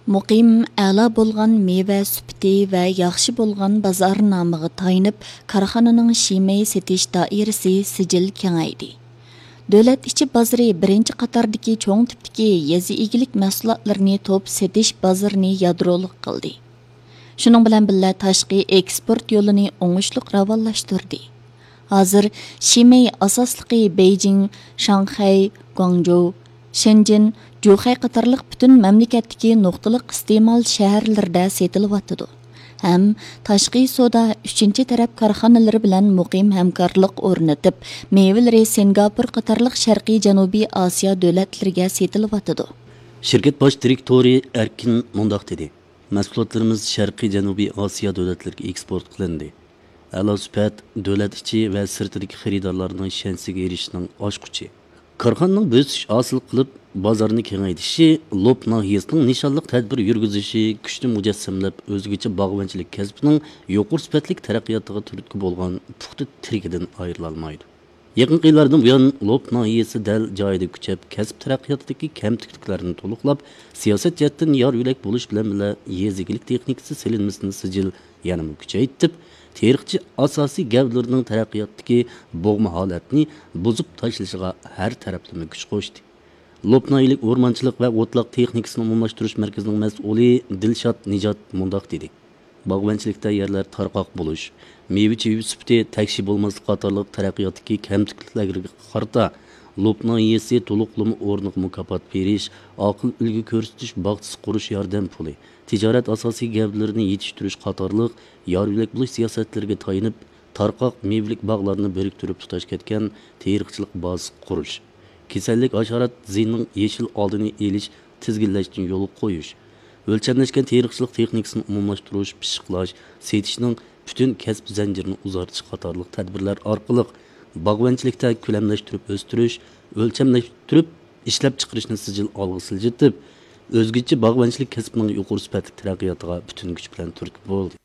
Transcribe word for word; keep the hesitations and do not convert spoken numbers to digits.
مۇقىم، ئەلا بولغان مېۋە سۈپىتى ۋە ياخشى بولغان بازارنامىغا تايىنىپ، كارخانىنىڭ شىمەي سېتىش دائىرىسى سىجىل كېڭەيدى. دۆلەت ئىچى بازىرى بىرىنچى قاتاردىكى چوڭ تىپتىكى يېزا ئىگىلىك مەھسۇلاتلىرىنى توپ سېتىش بازىرىنى يادرولۇق قىلدى. شۇنىڭ بىلەن بىللە، تاشقى ئېكسپورت يولىنى ئوڭۇشلۇق راۋانلاشتۇردى. ھازىر شىمەي ئاساسلىقى بېيجىڭ، شاڭخەي، گۇاڭجۇ، شېنجېن، جۇخەي قاتارلىق پۈتۈن مەملىكەتتىكى نۇقتىلىق ئىستېمال شەھەرلىرىدە سېتىلىۋاتىدۇ ھەم تاشقى سودا ئۈچىنچى تەرەپ كارخانىلىرى بىلەن مۇقىم ھەمكارلىق ئورنىتىپ، مېۋىلىرى سىنگاپور قاتارلىق شەرقىي جەنۇبىي ئاسىيا دۆلەتلىرىگە سېتىلىۋاتىدۇ. شىركەت باش دىرېكتورى ئەركىن مۇنداق دېدى: مەھسۇلاتلىرىمىز شەرقىي جەنۇبىي ئاسىيا دۆلەتلىرىگە ئېكسپورت قىلىندى. ئەلا سۈپەت دۆلەت ئىچى ۋە سىرتىدىكى خېرىدارلارنىڭ ئىشەنچىگە ئېرىشىشنىڭ ئاچقۇچى. كارخانىنىڭ بۆسۈش ھاسىل قىلىپ، بازارنى كېڭەيتىشى لوپ ناھىيەسىنىڭ نىشانلىق تەدبىر يۈرگۈزۈشى، كۈچنى مۇجەسسەملەپ، ئۆزگىچە باغۋەنچىلىك كەسپىنىڭ يۇقىرى سۈپەتلىك تەرەققىياتىغا تۈرتكە بولغان پۇختا تىرىكىدىن ئايرىلالمايدۇ. يېقىنقى يىللاردىن بۇيان، لوپ ناھىيەسى دەل جايىدا كۈچەپ، كەسىپ تەرەققىياتىدىكى كەمتۈكلۈكلەرنى تولۇقلاپ، سىياسەت جەھەتتىن يار يۆلەك بولۇش بىلەن بىللە، يېزا ئىگىلىك تېخنىكىسى سېلىنمىسىنى سىجىل يەنىمۇ كۈچەيتىپ، تېرىقچى ئاساسىي گەۋدىلىرىنىڭ تەرەققىياتتىكى بوغما ھالەتنى بۇزۇپ تاشلىشىغا ھەر تەرەپلىمە كۈچ قوشتى. لوپ ناھىيەلىك ئورمانچىلىق ۋە ئوتلاق تېخنىكىسىنى ئومۇملاشتۇرۇش مەركىزىنىڭ مەسئۇلى دىلشات نىجات مۇنداق دېدى: باغۋەنچىلىكتە يەرلەر تارقاق بولۇش، مېۋە-چېۋە سۈپىتى تەكشى بولماسلىق قاتارلىق تەرەققىياتتىكى كەمتۈكلۈكلەرگە قارىتا، لوپ ناھىيەسى تولۇقلىما ئورنىغا مۇكاپات بېرىش، ئاقىل ئۈلگە كۆرسىتىش باغچىسى قۇرۇش ياردەم پۇلى، تىجارەت ئاساسىي گەۋدىلىرىنى يېتىشتۈرۈش قاتارلىق يار يۆلەك بولۇش سىياسەتلىرىگە تايىنىپ، تارقاق مېۋىلىك باغلارنى بىرىكتۈرۈپ تۇتاش كەتكەن تېرىقچىلىق بازىسى قۇرۇش، كېسەللىك، ھاشارات زىيىنىنىڭ يېشىل ئالدىنى ئېلىش، تىزگىنلەشنى يولغا قويۇش، ئۆلچەملەشكەن تېرىقچىلىق تېخنىكىسىنى ئومۇملاشتۇرۇش، پىششىقلاش، سېتىشنىڭ پۈتۈن كەسىپ زەنجىرىنى ئۇزارتىش قاتارلىق تەدبىرلەر ئارقىلىق باغۋەنچىلىكتە كۆلەملەشتۈرۈپ ئۆستۈرۈش، ئۆلچەملەشتۈرۈپ ئىشلەپچىقىرىشنى سىجىل ئالغا سىلجىتىپ، ئۆزگىچە باغۋەنچىلىك كەسپىنىڭ يۇقىرى سۈپەتلىك تەرەققىياتىغا پۈتۈن كۈچ بىلەن تۈرتكە بولدى.